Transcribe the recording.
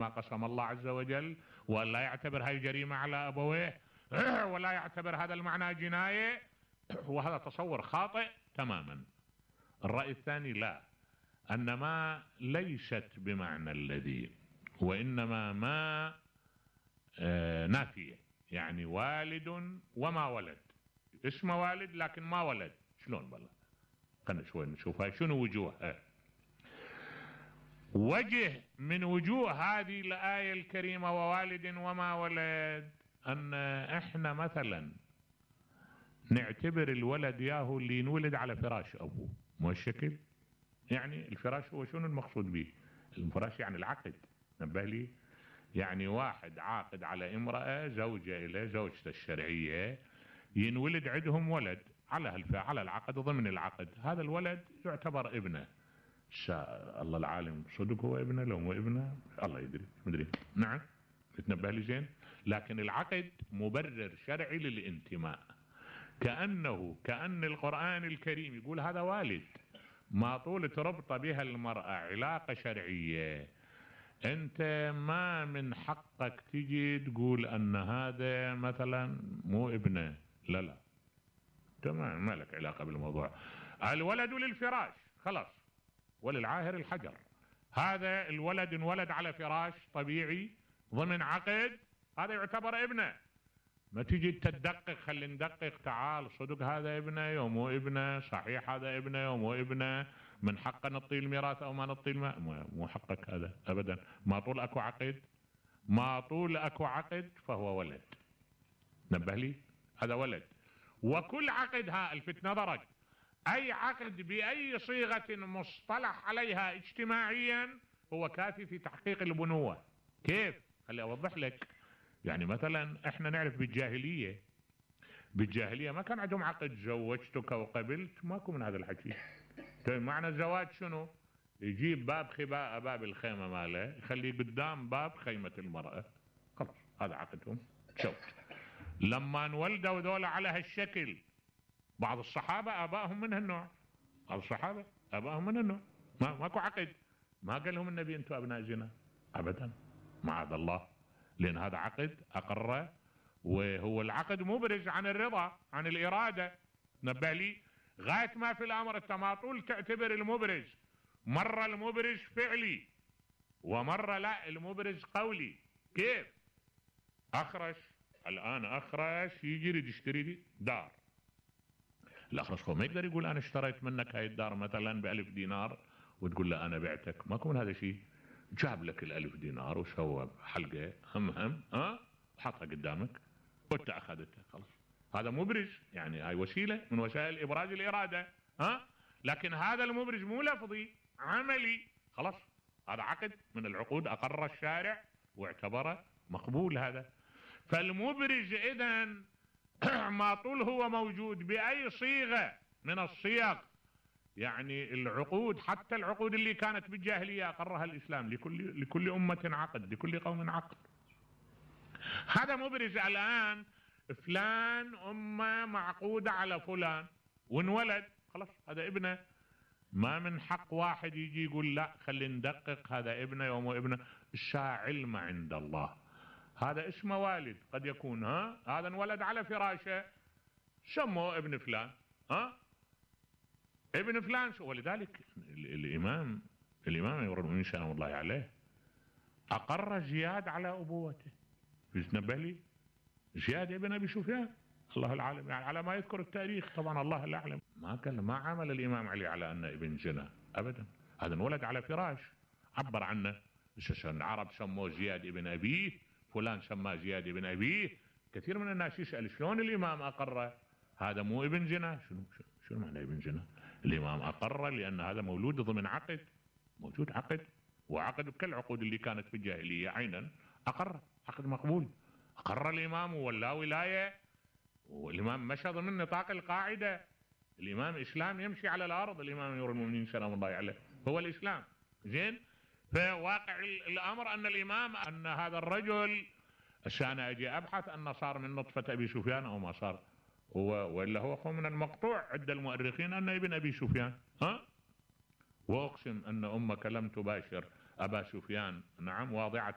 ما قسم الله عز وجل، ولا يعتبر هاي جريمة على أبويه، ولا يعتبر هذا المعنى جناية، وهذا تصور خاطئ تماما. الرأي الثاني لا، أن ما ليست بمعنى الذي، وإنما ما نافية، يعني والد وما ولد، اسمه والد لكن ما ولد. شلون بالله؟ خلنا شوي نشوفها شنو وجوهها. وجه من وجوه هذه الآية الكريمة ووالد وما ولد، أن احنا مثلا نعتبر الولد ياهو اللي ينولد على فراش أبوه، مو الشكل؟ يعني الفراش هو شنو المقصود به؟ الفراش يعني العقد، نبه لي، يعني واحد عاقد على امرأة زوجة إلى زوجته الشرعية، ينولد عندهم ولد على العقد، ضمن العقد هذا الولد يعتبر ابنه. الله العالم صدق هو ابنه لو مو ابنه الله يدري، مدري. نعم، تنبه لي زين. لكن العقد مبرر شرعي للانتماء، كأن القرآن الكريم يقول هذا والد، ما طول تربط بها المرأة علاقة شرعية، انت ما من حقك تجي تقول ان هذا مثلا مو ابنه. لا تمام، ما لك علاقة بالموضوع. الولد للفراش خلاص، وللعاهر الحجر. هذا الولد انولد على فراش طبيعي ضمن عقد، هذا يعتبر ابنه. ما تيجي تدقق، خلي ندقق، تعال صدق هذا ابنه يوم مو ابنه، صحيح هذا ابنه يوم مو ابنه، من حقه نعطيه الميراث او ما نعطيه مو حقك هذا ابدا. ما طول اكو عقد، ما طول اكو عقد فهو ولد. نبه لي، هذا ولد. وكل عقد الفت نظرك، اي عقد باي صيغة مصطلح عليها اجتماعيا هو كافي في تحقيق البنوة. كيف؟ خلي اوضح لك. يعني مثلا احنا نعرف بالجاهلية ما كان عندهم عقد زوجتك وقبلت، ماكو من هذا الحكي. طيب معنى الزواج شنو؟ يجيب باب خباء، باب الخيمة ماله يخليه قدام باب خيمة المرأة، خلاص هذا عقدهم. شوف لما انولدوا ذولا على هالشكل، بعض الصحابة آبائهم من هالنوع، بعض الصحابة آبائهم من هالنوع، ماكو عقد. ما قال لهم النبي انتم ابناء زنا ابدا، معاذ الله، لان هذا عقد اقره، وهو العقد مبرز عن الرضا، عن الارادة. نبه لي، غاية ما في الامر انت ما طول تعتبر المبرز، مرة المبرز فعلي ومرة لا المبرز قولي. كيف؟ اخرش، الان اخرش يجي يريد يشتري دار، الاخرش هو ما يقدر يقول انا اشتريت منك هاي الدار مثلا ب1000 دينار وتقول له انا بعتك، ماكو من هذا شيء. جاب لك ال1000 دينار وسوى حلقة هم حطها قدامك وانت اخذتها، خلاص هذا مبرز، يعني هاي وسيلة من وسائل ابراز الارادة. لكن هذا المبرز مو لفظي، عملي، خلاص هذا عقد من العقود اقر الشارع واعتبره مقبول هذا. فالمبرز اذن ما طول هو موجود بأي صيغة من الصيغ، يعني العقود، حتى العقود اللي كانت بالجاهلية أقرها الإسلام، لكل أمة عقد، لكل قوم عقد. هذا مبرز. الآن فلان أمة معقودة على فلان وانولد، خلاص هذا ابنه. ما من حق واحد يجي يقول لا خلي ندقق هذا ابنه يوم ابنه. الشاع علم عند الله، هذا اسمه والد، قد يكون هذا انولد على فراشه سموه ابن فلان، ابن فلان. ولذلك الامام امير المؤمنين سلام الله عليه اقر زياد على ابوته. نبه لي، زياد ابن ابي سفيان، الله العالم، يعني على ما يذكر التاريخ، طبعا الله لا يعلم، ما عمل الامام علي على انه ابن زنا ابدا، هذا انولد على فراش عبر عنه. العرب سموه زياد ابن ابيه، فلان سماه زياد ابن ابيه. كثير من الناس يسأل شلون الامام اقره هذا مو ابن زنا؟ شنو معنى ابن زنا؟ الامام اقره لان هذا مولود ضمن عقد، موجود عقد، وعقد كالعقود اللي كانت في الجاهليه عينا، اقر عقد مقبول، اقر الامام ولا ولايه، والامام مشى ضمن نطاق القاعده. الامام اسلام يمشي على الارض، الامام امير المؤمنين سلام الله عليه هو الاسلام. زين، فواقع الامر ان الامام، ان هذا الرجل عشان اجي ابحث انه صار من نطفة ابي سفيان او ما صار، ولا هو من المقطوع عند المؤرخين انه ابن ابي سفيان. واقسم ان امك لم تباشر ابا سفيان، نعم، واضعة